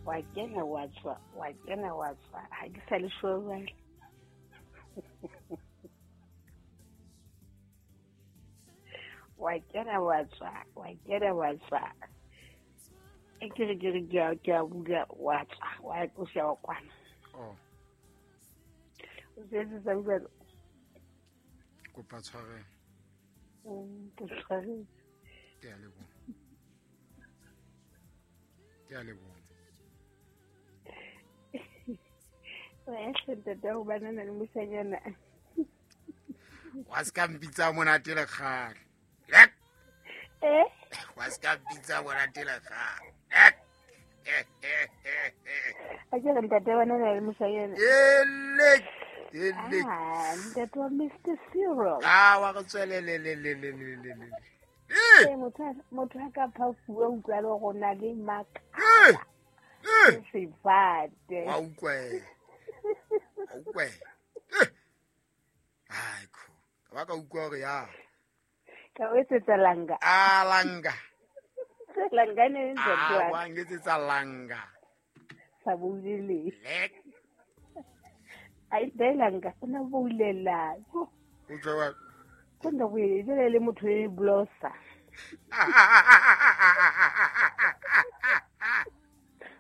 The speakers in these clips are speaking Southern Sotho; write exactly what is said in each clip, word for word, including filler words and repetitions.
Wa kena wa tswa, wa kena wa tswa. Ha ke sa le sure jwale. Wa kena wa tswa, wa kena wa tswa. E ke re ke re ke a ke a bula wa tswa, wa o sia wa kwana. Oh. O setse sa bua. Kopa tshwarelo. Mm, ke tshwaretse. Ke a leboha. Ke a leboha. Wa hle ntate wa banana le moshanyana. Wa ska mpitsa monate le kgale. Lek. Eh? Wa ska mpitsa monate le kgale. Lek. A ke re ntate wa banana le moshanyana. Elek. Elek. Ah, ntate wa Mister Cyril. Ah, wa re tswele le le le le le le le. Eh, motho motho a ka phafuwa utlwa le go na le maka. Eh. Eh. Sefate. Wa utlwa. Wa utlwa. Eh. Ai ko. Ka ba ka utlwa hore ya. Ka o etsetsa langa. Ah, langa. Langa ne ntate wa. Ah, wa ngetsetsa langa. Sa boulele. Lek. Ai de langa, o na boulela. O utlwa wa. Ko nda boele jele le motho e blosa.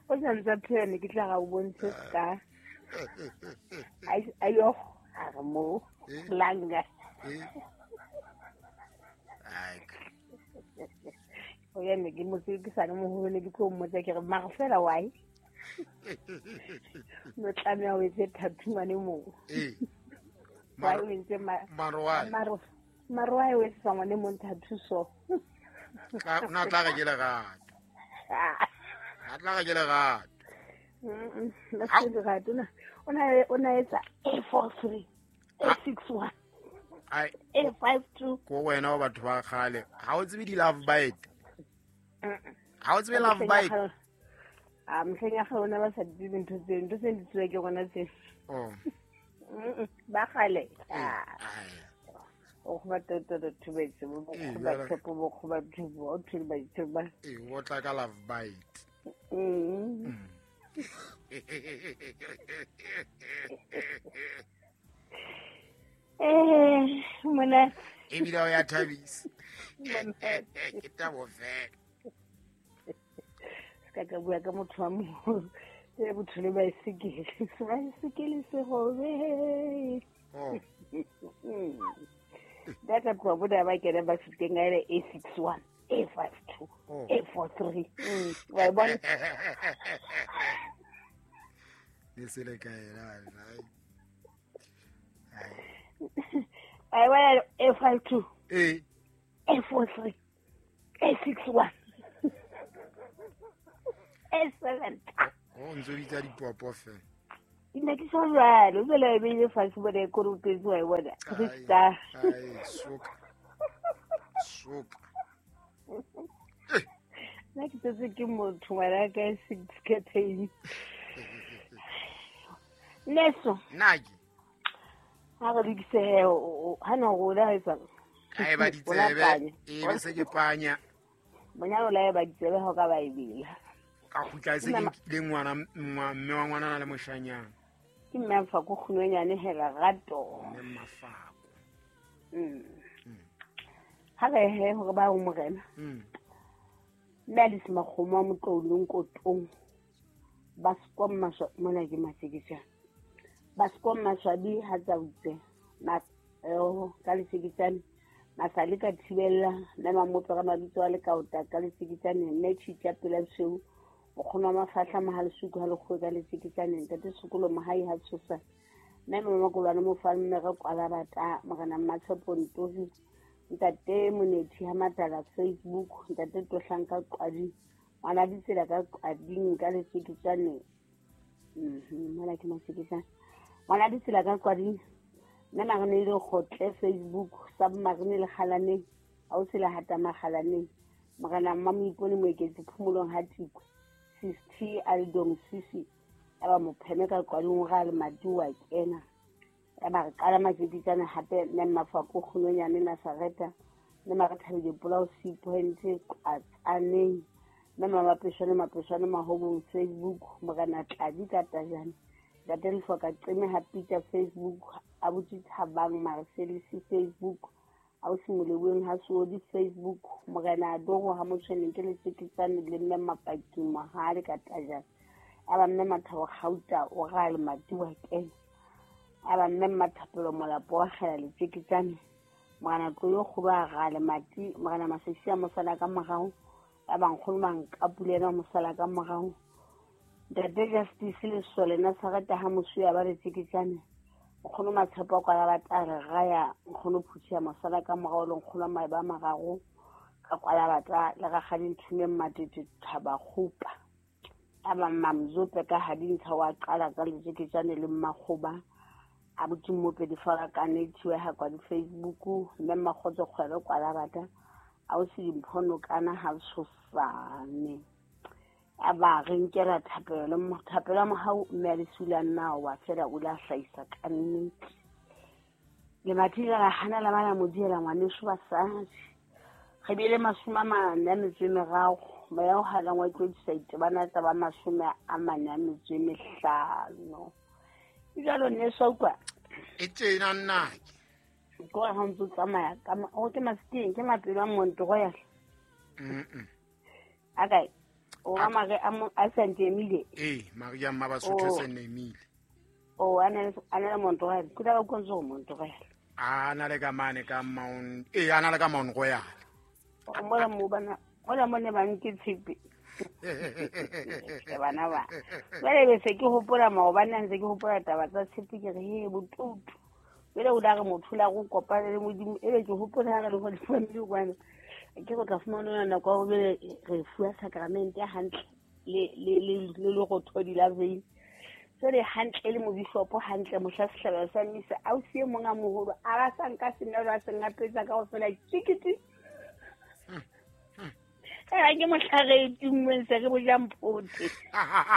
O santse phela ne ke tla ga o bontshe ska. Ai ayo a re mo langa. Ai. O ya ne ke mo se ke sa le moholo ne ke tlo mmotsa ke re mara fela why? No tlameha o etse tattoo ngwane moo. Eh. Why o entse ma maro why? Maro maro why o etsa ngwane mong tattoo so? Tla na tla re ke lerato. Na tla re ke lerato. Mm. La se lerato na. O na o na etsa A four three, A six one. Ai A five two. Ko wena wa batho ba kgale. Ha o tsebe di love bite. Ha o tsebe love bite. Ah, mehleng ya kgale ba sa di dintho tse, ntho tse di tswe ke rona tse. Oh. Mm, ba kgale. Ah. O go batla toto thubetse, bo go ba tshepo, bo go ba thubo, o thule ba ithuba. Eh, o tla ka love bite. Mm. Eh, mona. E bile o ya thabisa. Ke tabo fela. Ka ka bua ka motho wa moholo. E botho le baesekele. Baesekele se robe. Oh. Data kwa boda ba kena ba fiteng ga ile A six one, A five two, A four three. Mm, wa bona. Ne se le kae la. Ai wa A five two. Eh. A four three, A six one. A seven. Oh, ntse bitsa dipopo fela. Nna ke so jwalo, fela e beile fatshe bona e korupetse wa e bona. Krista. Ai, soka. Soka. Nna ke tsetse ke motho ngwana ka six campaign. Neso. Nna ke. Ha re lokise he, ha no go la etsa. Ka e ba ditsebe, e be se ke panya. Monyalo la e ba ditsebe ha o ka ba e bela. Ka kgutla se ke le ngwana mme wa ngwana le moshanyana. Ke mme a fa go kgunonyane hela rato. Mme Mafako. Mm. Ha re he hore ba o morena. Mm. Mme a le semakgomo a motloulong kotong. Ba sekwa mmaswa mona ke maseketjana. Ba sekwa mmaswabi ha tsa utse. Ma eh ka leseketjane. Masale ka thibella mme mamotso ka mabitso a le kaota ka leseketjane mme tshitja pela boseu. O kgona mafahla mahalesuku ha lekgoe ka leseketjane ntate sekolo mohai ha tshosa. Mme mamakolwane mo fa mme re kwala bata morena Mmatshepo Ntofi ntate Monethi ha Matala Facebook ntate Tohlang ka Qadi ngwana ditsela ka Qading ka leseketjane. Mhm, mona ke maseketjane. Ngwana ditsela ka Qading mme marene le kgotle Facebook submarine le kgalaneng ha o sela hata makgalaneng morena Mmamoipone Moeketsi phomolong ha Tikwe T Aldong Sisi aba mopheme ka Qading ga le madi wa kena ya ba re qala matjeketsana hape mme Mafako kgunonyane Nazareta mme mare thabile polao C point Qatsaneng Mme Mapeshane Mapeshane Mahobong Facebook, Morena Tladi ka Tajane, Ntate Lehloka Qeme ha Peter Facebook, Abuti Thabang Marcelis Facebook, Ausi Moleweng ha Soodi Facebook, Morena Adoro ha Motshweneng ke Letjeketjane le Mme Mapaki Mohale ka Tajane. Aba Mme Mathabo Kgauta o ra le Matiwa Kene. Aba Mme Mathapelo Molapo wa Kgela Letjeketjane. Morena Tloyo Kgolo a ra le Mati, Morena Masesi a mosala ka morao. Ba nkgono Mankapule ena mosala ka morao. Ntate Justice Lesole Nazareth ha Mosuya ba Letjeketjane. Nkgono Matshepo kwa la batla re raya nkgono Phuthi ya mosala ka morao le nkgono Maeba a mararo ka kwa la batla le rakgadi Nthumeng Matete Thaba Kgopa. Aba Mamzope ka Hadintsha wa qala ka Letjeketjane le Mmakgoba. Abuti Mmope di fara ka network ha kwa di Facebook, mme Makgotso Kgwebo kwa la batla. Ausi Dimpho kana ha tshosane. Aba re nkela thapelo, thapelo ya mohau mme a lesula nna wa fela o la hlahisa ka nnete. Le mathile la hana la bana modiela ngwaneso basadi. Re bile mashome a mane a metso e meraro, moya o halang wa tlodisa itebana tsa ba mashome a mane a metso e mehlano. Jalo nneso utlwa. E tjena nnake. Ko ha ntse tsamaya ka o ke masikeng ke mapelo a Mount Royal. Mm. Akae o a mare a a Saint Emile. Eh, Maria Mabasotho Saint Emile. O ana ana Mount Royal. Ke tla go konzo Mount Royal. A na le ka mane ka Mount eh ana le ka Mount Royal. O mola mo bana, mola mo ne ba nke tshipi. Ke bana ba. Jwale be se ke hopola maobane ntse ke hopola taba tsa tshipi ke re he botutu. Jwale o la re motho la go kopana le Modimo ebe ke hopola ha re le go family kwana. Ke go tla fumana nako ya ho be re fuwa sacrament ya hantle le le le le lerothodi la vein. Jwale hantle le mobishopo hantle mohla sehlabelo sa misa ausi e mong a moholo a ba sa nka senelo a se ngapetsa ka ho fela tjikiti. Ke mohlare e tummeng se re bo jang phote.